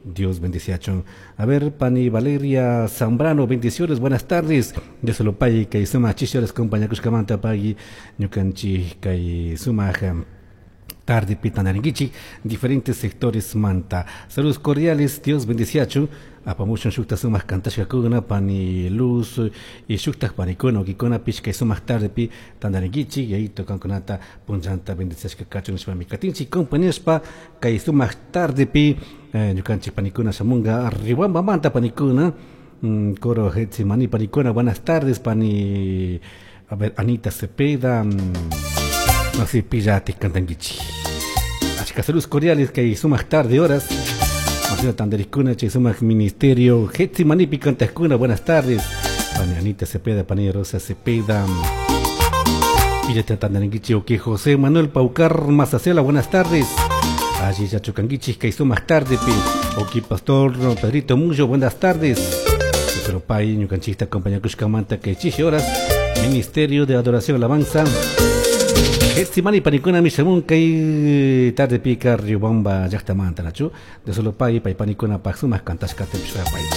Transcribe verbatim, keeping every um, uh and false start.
Dios bendiciachun. A ver, pani Valeria Zambrano, bendiciones, buenas tardes. Dios lo pague kay sumak chishi compañía pagui ñukanchik kay sumak tarde pi tandarinkichik, diferentes sectores manta. Saludos cordiales, Dios bendiciachun. Apamushun shukta sumak kantashkakuna pani Luz y shuktak panikuna ukikunapish kay sumak tarde pi tandarinkichik y ahí kankunata punllanta bendiciashka kachun nishpami katinchik compañashpa kay sumak tarde pi eh, ñukanchik panikuna shamunga Riobambamanta panikuna mm, coro Getsemani panikuna. Buenas tardes, pani, a ver, Anita Cepeda, mm, no sé, pillati kantankichik. Achka saludos cordiales kay sumak tarde horas. Marcela Tandericuna, chay sumak ministerio Getsemanipi kantaqkuna, buenas tardes. Pani Anita Cepeda, pani Rosa Cepeda. Pillata tandarinkichik. Ok, José Manuel Paucar Mazacela, buenas tardes. Allí ya chukankichik kay sumak tarde pi. Ok, Pastor Pedrito Mullo, buenas tardes. Pero pay ñukanchikta acompañakushkamanta kay chishi horas. Ministerio de Adoración Alabanza Getsemani panikuna mishamun kay tarde pika Riobamba llaktamanta nachu. De solo pay pay panikuna pak sumak kantashkata pishpaychik.